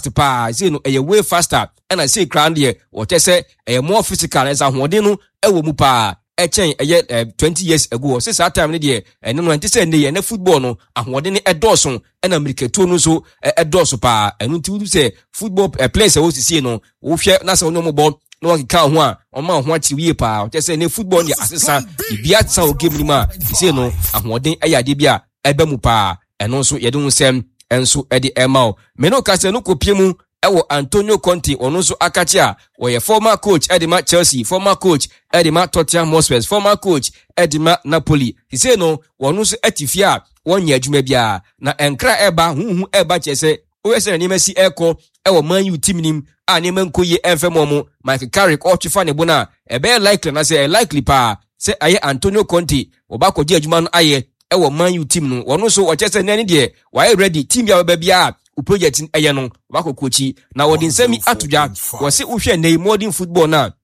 fast paa. Sei no ɛyɛ way faster, ɛna sei koraa no deɛ wɔkyɛ sɛ ɛyɛ more physical, ɛsɛ ahoɔden no ɛwɔ mu paa ɛkyɛn ɛyɛ 20 years ago. Ɔsɛ saa time no deɛ ɛno no ɛnte sɛ ɛnɛ yɛ ɛnɛ football no ahoɔden no ɛdɔɔso, ɛna mmirikatuo no nso ɛdɔɔso paa. Ɛno nti wotu sɛ football players a wɔsisie no, wohwɛ na sɛ wɔne wɔn bɔ na wɔkeka ho a, wɔma ho akyerɛ yie paa. Ɔkyɛ sɛ ne football deɛ asesa, biribiara sesa wɔ game no mu a sisie no ahoɔden ɛyɛ adeɛ bi a ɛbɛ mu paa. Ɛno nso yɛde ho nsɛm nso ɛde ɛma wo. Mene wo kasa no kɔpie mu ɛwɔ Antonio Conte, ɔno nso akakye a wɔyɛ former coach ɛde ma Chelsea, former coach ɛde ma Tottenham Hotspur, former coach ɛde ma Napoli. Sisei no wɔn nso ɛte fie a wɔnyɛ adwuma biara, na nkra ɛba huhu ɛba kyerɛ sɛ woyɛ sɛ na nneɛma si ɛkɔ ɛwɔ Man U team nim a nneɛma nkɔ yie ɛmfɛ mɔ mo. Michael Carrick ɔtwe fa ne bo no a ɛbɛyɛ likely anaasɛ ɛyɛ likely paa sɛ ɛyɛ Antonio Conte wɔba akɔgye adwuma no ayɛ ɛwɔ Man U team no. Wɔn nso wɔkyerɛ sɛ nɛɛ ne deɛ wɔayɛ ready, team bi a wɔbɛba biara o project ɛyɛ no wɔakɔ kɔkyi. Na wɔde nsɛm yi ato dwa, wɔse wohwɛ nnɛ yi modern football no a,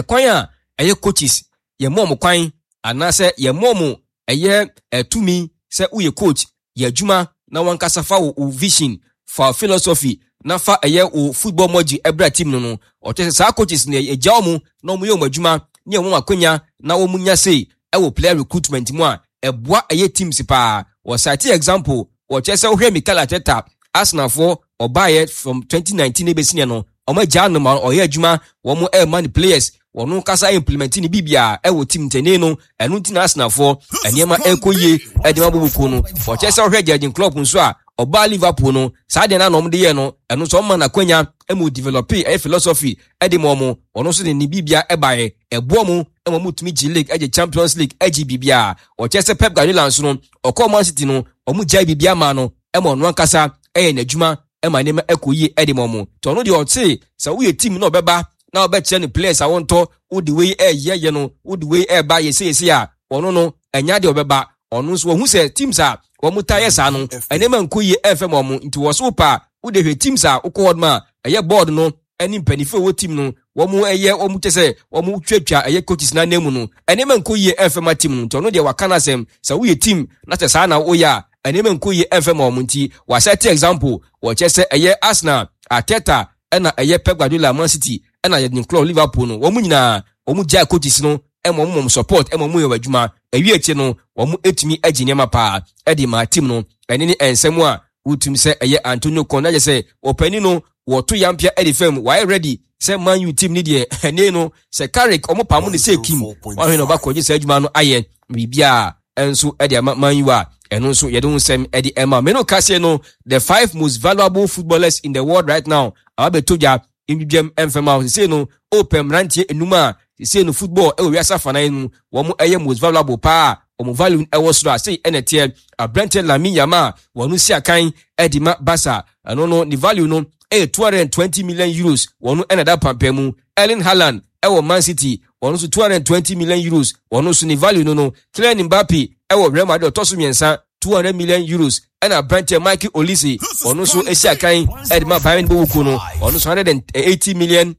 ɛkwan a ɛyɛ coaches yɛmmɔ ɔmo kwan anaasɛ yɛmmɔ ɔmo ɛyɛ ɛtumi sɛ woyɛ coach, yɛ adwuma na wankasa fa wo vision, fa philosophy na fa ɛyɛ wo football mɔgye ɛbra team no. Ɔkyerɛ sɛ saa coaches no yɛgya ɔmo na ɔmo yɛ ɔmo adwuma ne ɔmo akonya na wɔn nya sei ɛwɔ player recruitment mu a ɛboa ɛyɛ teams paa. Wɔsate example, wɔkyerɛ sɛ wohwɛ Mikel Arteta, Arsenalfoɔ ɔbaeɛ from 2019 ebesi ne no, ɔmo agya no ma ɔyɛ adwuma, wɔn ɛrema ne players, wɔn kasa implement ne biribiara ɛwɔ team ntɛnɛn no. Ɛno nti na Arsenalfoɔ nneɛma ɛrekɔ yie ɛde ma boboko no. Wɔkyerɛ sɛ wohwɛ Jurgen Klopp nso a ɔbaa Liverpool no, saa deɛ na ɔmo de yɛ no, ɛno nso ɔmo ma n'akwanya ɛma o develop ɛyɛ philosophy ɛde ma ɔmo. Ɔno nso de ne biribia ɛbaeɛ ɛboɔ mo ɛma ɔmo tumi gye league, ɛgye Champions League, ɛgye biribiara. Wɔkyerɛ sɛ Pep Guardiola nso no, ɔkɔɔ Man City no, ɔmo gyae biribiara maa no ɛma ɔno ankasa ɛyɛ n'adwuma ɛma nneɛma ɛkɔ yie ɛde ma ɔmo. Nti ɔno deɛ ɔte sɛ woyɛ team na ɔbɛba na ɔbɛkyerɛ no players a wɔntɔ, wode wei ɛyɛ yɛ no, wode wei ɛba yɛsɛ yɛsɛ a, ɔno no ɛnya deɛ ɔbɛba. Ɔno nso wɔhu sɛ teams a wɔn ta yɛ saa no, nneɛma nkɔ yie ɛmfɛ ma ɔmo. Nti wɔ so pa wode hwɛ teams a wokɔ hɔ nom a ɛyɛ board no ɛne mpanimfoɔ a ɛwɔ team no, wɔn ɛyɛ wɔn kyɛ sɛ wɔn twatwa ɛyɛ coaches n'anan mu no, nneɛma nkɔ yie ɛmfɛ ma team no. Nti ɔno deɛ waka n'asɛm sɛ woyɛ team na sɛ saa na woyɛ a, nneɛma nkɔ yie ɛmfɛ ma wɔn. Nti wasɛte example, wɔkyɛ sɛ ɛyɛ Arsenal Arteta, ɛna ɛyɛ Pep Guardiola Man City, ɛna Jurgen Klopp Liverpool no, wɔn nyinaa wɔn gyae coaches no ɛma wɔn mɔm support ɛma wɔn yɛ wɔn adwuma. Ɛwi akyi no wɔn etumi agye nneɛma paa ɛde ma team no. Ɛne ne nsɛm a wotum sɛ ɛyɛ Antonio Conte na kyerɛ sɛ ɔpanin no wɔto yampia ɛde fam, wɔayɛ ready sɛ Man U team ne deɛ ɛne no sɛ Carrick ɔmo pam ne sɛ kim wɔahwɛ na ɔba kɔgye saa adwuma no ayɛ biribiara ɛnso ɛde ama Man U a, ɛno nso yɛde ho nsɛm ɛde ɛma mene kaseɛ no. The five most valuable footballers in the world right now aba bɛtɔ dwa ndwidwam ɛmfɛm a sesei no ɔpɛ mmeranteɛ enum a sesei no football ɛwɔ wiase afanan mu wɔn ɛyɛ most valuable paa, wɔn value ɛwɔ soro a sei ɛna ɛteɛ. Aberanteɛ Lamine Yamal, wɔn si akan ɛde ma Barca, ɛno no ne value no ɛyɛ €220 million, wɔn ɛna da pampɛ mu. Erling Haaland ɛwɔ Man City, wɔn nso €220 million, wɔn nso ne value no. Kylian Mbappe ɛwɔ Real Madrid, ɔtɔ so mmiɛnsa, €200 million. Ɛna aberanteɛ Michael Olise, ɔno nso esi akan ɛde ma Bayern Bowuku no, ɔno nso €180 million,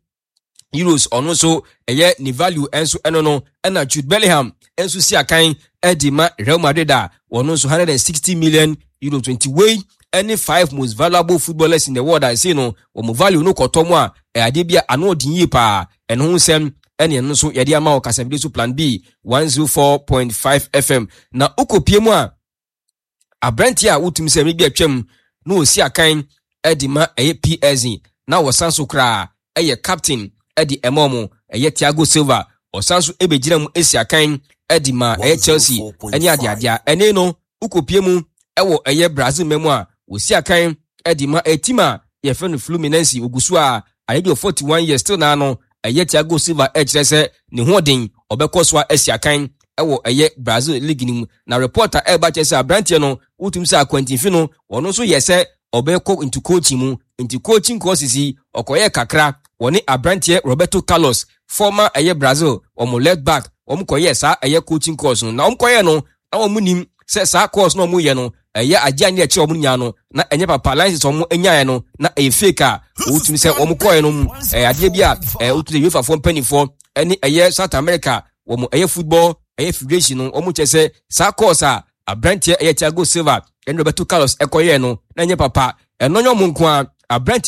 ɔno nso ɛyɛ ne value ɛnso ɛno no. Ɛna Jude Bellingham nso si akan ɛde ma Real Madrid a ɔno nso €160 million. Nti wei ɛne five most valuable footballers in the world a ɛsei no wɔn value no kɔtɔ mu a ɛyɛ adeɛ bi a ano ɔden yie paa. Ɛno ho nsɛm ɛne ɛno nso yɛde ama wɔ kasafidie so, Plan B 104.5 FM. Na wokɔpie mu a, aberanteɛ a wotumi sɛ mmere bi atwam na ɔsi akan de ma ɛyɛ PSG na wɔsan so koraa ɛyɛ captain de ɛma ɔmo, ɛyɛ Thiago Silva, ɔsan so ɛbɛgyina mu esi akan de ma ɛyɛ Chelsea ɛne adeadea. Ɛne no wokɔpie mu ɛwɔ ɛyɛ Brazil mɛ mu a wɔsi akan de ma ɛyɛ team a yɛfrɛ no Fluminense, ogu so a ayɛ deɛ 41 years still naa no, ɛyɛ Thiago Silva ɛkyerɛ sɛ ne hoɔden ɔbɛkɔ so a asi akan ɛwɔ ɛyɛ Brazil league no mu. Na reporter ɛreba kyerɛ sɛ aberanteɛ no wotum sɛ akwantinfi no ɔno nso yɛ sɛ ɔbɛkɔ into coaching mu. Nti coaching courses yi ɔkɔyɛ kakra, wɔne aberanteɛ Roberto Carlos, former ɛyɛ Brazil wɔn left back, wɔn kɔyɛ saa ɛyɛ coaching course no. Na wɔn kɔyɛ no na wɔn nim sɛ saa course na wɔn yɛ no ɛyɛ agye a ne ɛkyerɛ wɔn nyinaa no na ɛnyɛ papa. License wɔn nyaeɛ no na ɛyɛ fake a wotumi sɛ wɔn kɔɛ no mu ɛyɛ adeɛ bi a wotumi sɛ UEFA foɔ mpanimfoɔ ɛne ɛyɛ South America wɔn ɛyɛ football ɛyɛ federation no, wɔn kyerɛ sɛ saa course a aberanteɛ ɛyɛ Thiago Silva ɛne Roberto Carlos ɛkɔyɛɛ no na ɛnyɛ papa. Ɛno nyɛ wɔn nko a aberanteɛ.